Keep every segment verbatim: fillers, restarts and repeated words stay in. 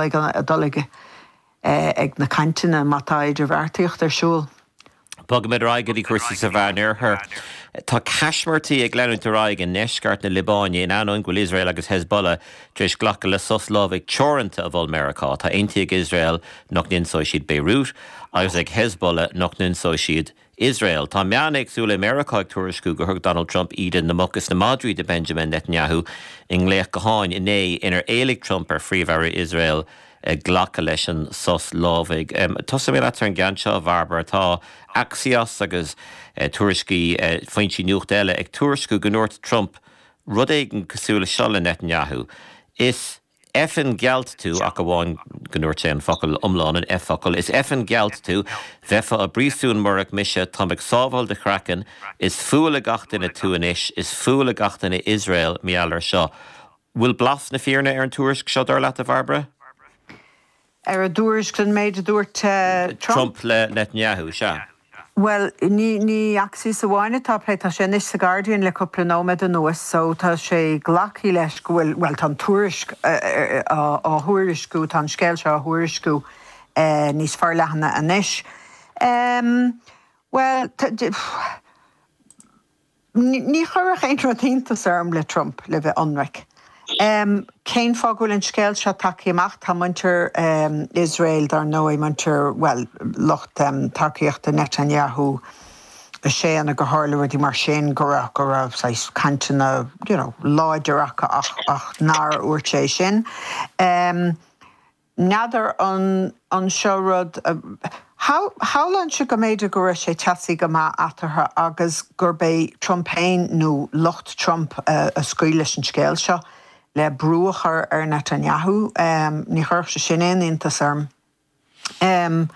ag dul ag ag na cainteanna má tá idirbheartaíocht ar siúl. Bogaimid ar aghaidh go dtí cúrsaí sa Mheánoirthear. Tá caismirtí ag leanúint ar aghaidh i ndeisceart na Liobáine in ainneoin go bhfuil Iosrael agus Hezbollah tar éis glacadh le sos lámhaigh teoranta a mhol Meiriceá. Tá aontaithe ag Iosrael nach n-ionsóidh siad Beirut agus ag Hezbollah nach n-ionsóidh siad Iosrael. Tá meáin éagsúla i Meiriceá ag tuairisciú gur thug Donald Trump íde na muc is na madraí do Benjamin Netanyahu i nglaoch gutháin inné inar éiligh Trump ar Phríomh-Aire Iosrael glacadh leis an sos lámhaigh. Tosóidh mé leat ar an gceann seo, a Bhairbre. Tá Axios agus tuairiscí foinsí nuachta eile ag tuairisciú go ndúirt Trump rud éigin cosúil le seo le Netanyahu. Is effing gealt tú ach amháin go ndúirt sé an focal iomlán an F-focal. Is effing gealt tú, bheifeá i bpríosún murach mise, táim ag sábháil do chraiceann, is fuath le gach duine tú anois, is fuath le gach duine Iosrael mar gheall air seo. Bhfuil blas na fírinne ar an tuairisc seo dar leat a Bhairbre? Ar an dtuairisc an méid a dúirt Trump? Trump le Netanyahu, sea. Bhuel, ní ní Axios amháin atá plé tá sé anois sa Guardian le cúpla nóiméad anuas, so tá sé glactha leis go bhfuil well tá an tuairisc á thuairisciú tá an scéal seo á thuairisciú níos forleithne anois. Um, well, ní chuirfeadh aon rud iontas orm le Trump le bheith ionraic. Um, cén fáth go bhfuil an scéal seo tagtha amach tá muintir um, Israel dar ndóigh muintir well lucht um, tacaíochta Netanyahu a sé an go tharla rudaí mar sin go raibh go raibh cainteanna you know, láidir acu ach, ach nár dhúirt sé sin. Um, N'fheadar an an seo rud Shamhlóinn sé go mb'fhéidir go raibh sé teasaí go maith eatarthu agus gurb é Trump féin nó lucht Trump uh, a scaoil leis an scéal seo le brú a chur ar Netanyahu um, ní chuirfeadh sé sin aon iontas orm. Um,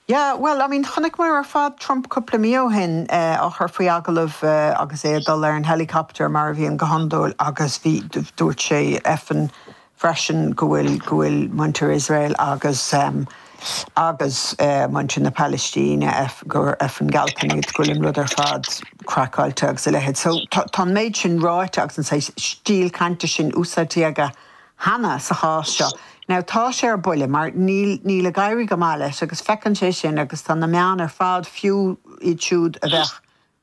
Yeah, well, I mean chonaic muid ar fad Trump cúpla mí ó shin uh, á chur faoi agallamh uh, agus é ag dul ar an helicopter mar a bhíonn go hiondúil agus bhí dúirt sé effing freisin go bhfuil go bhfuil muintir Israel agus um, agus uh, muintir na Palaistíne F gur effing gealtanna iad go bhfuil an rud ar fad craiceáilte agus a leithéid. So tá an méid sin ráite agus an stíl cainte sin úsáidte aige cheana sa chás seo. Now tá sé ar buile mar níl níl ag éirí go maith leis agus feiceann sé sin agus tá na meáin ar fad fiú iad siúd a bheith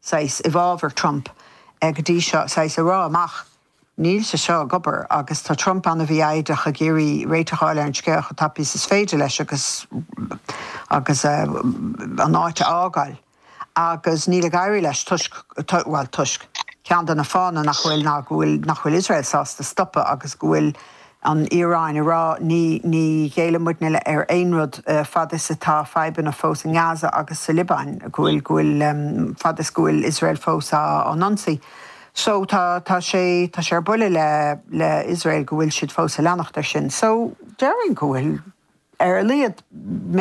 saghas i bhfabhar Trump ag go dtí seo saghas ag rá amach. Níl sé seo ag obair agus tá Trump an-fhoighdeach ag iarraidh réiteach a fháil ar an scéal chomh tapaidh is is féidir leis agus agus uh, an áit a fhágáil. Agus níl ag éirí leis toisc well toisc ceann de na fáthanna nach bhfuil ná go bhfuil nach bhfuil Israel sásta stopadh agus go bhfuil an Iaráin ag rá ní ní ghéillfidh muidne ar aon rud uh, fad is atá fadhbanna fós in Gaza agus sa Liobáin go bhfuil go bhfuil um, fad is go bhfuil Israel fós á n-ionsaí. So tá tá sé tá sé ar buile le le Israel go bhfuil siad fós ag leanacht ar sin. So déarfainn go bhfuil ar a laghad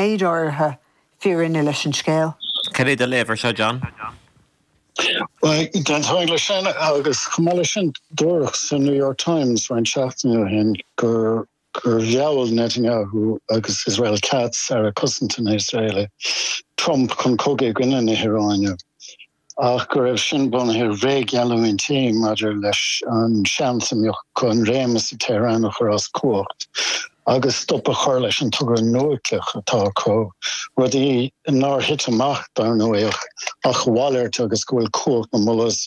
méid áirithe fírinne leis an scéal. Cad é do léamh air seo John? Well, d'aontóinn leis sin agus chomh maith leis sin dúradh sa New York Times roinnt seachtainí ó shin gur gur mheall Netanyahu agus Israel Katz Aire Cosanta na hIosraeile Trump chun cogadh i gcoinne na hIaráine. Ach go raibh sin bunaithe ar bhréaggheallúintí maidir leis an seans a mbeadh chun réimeas i Tehran a chur as cumhacht agus stop a chur leis an togra núicléach atá acu rudaí nár thit amach dar ndóigh ach a mhalairt agus go bhfuil cumhacht na mullahs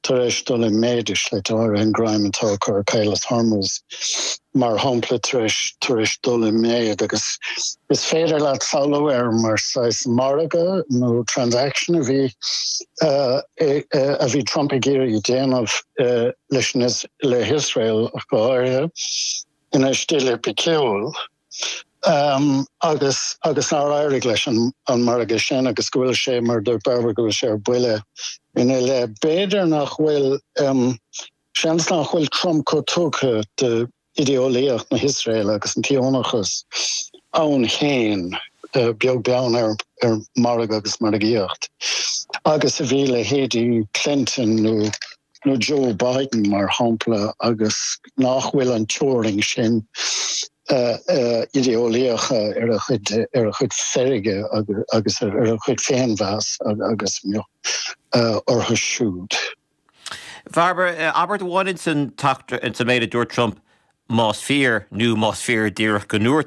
tar éis dul i méid le áir an greim atá acu ar Chaolas Hormuz mar shampla tar éis tar éis dul i méid agus is féidir leat samhlú air mar saghas margadh nó transaction a bhí uh, a bhí Trump ag iarraidh déanamh uh, leis le hIsrael go háirithe ina stíl oificiúil. Um, agus agus nár éirigh leis an, an margadh sin agus go bhfuil sé mar dúirt Bairbre go bhfuil sé ar buile ina leith b'fhéidir nach bhfuil um, seans nach bhfuil Trump chomh tugtha do idéolaíocht na hIosraeile agus an tSíónachas ann féin uh, beag beann ar, ar margadh agus margaíocht. Agus a bhí leithéidí Clinton nó nó Joe Biden mar shampla agus nach bhfuil an teorainn sin uh, uh, idéolaíoch ar a chuid ar a chuid feirge agus ar a chuid féinmheas agus uh, orthu siúd. Bhairbre abairt amháin san méid a dúirt Trump Más fíor nó más fíor díreach go ndúirt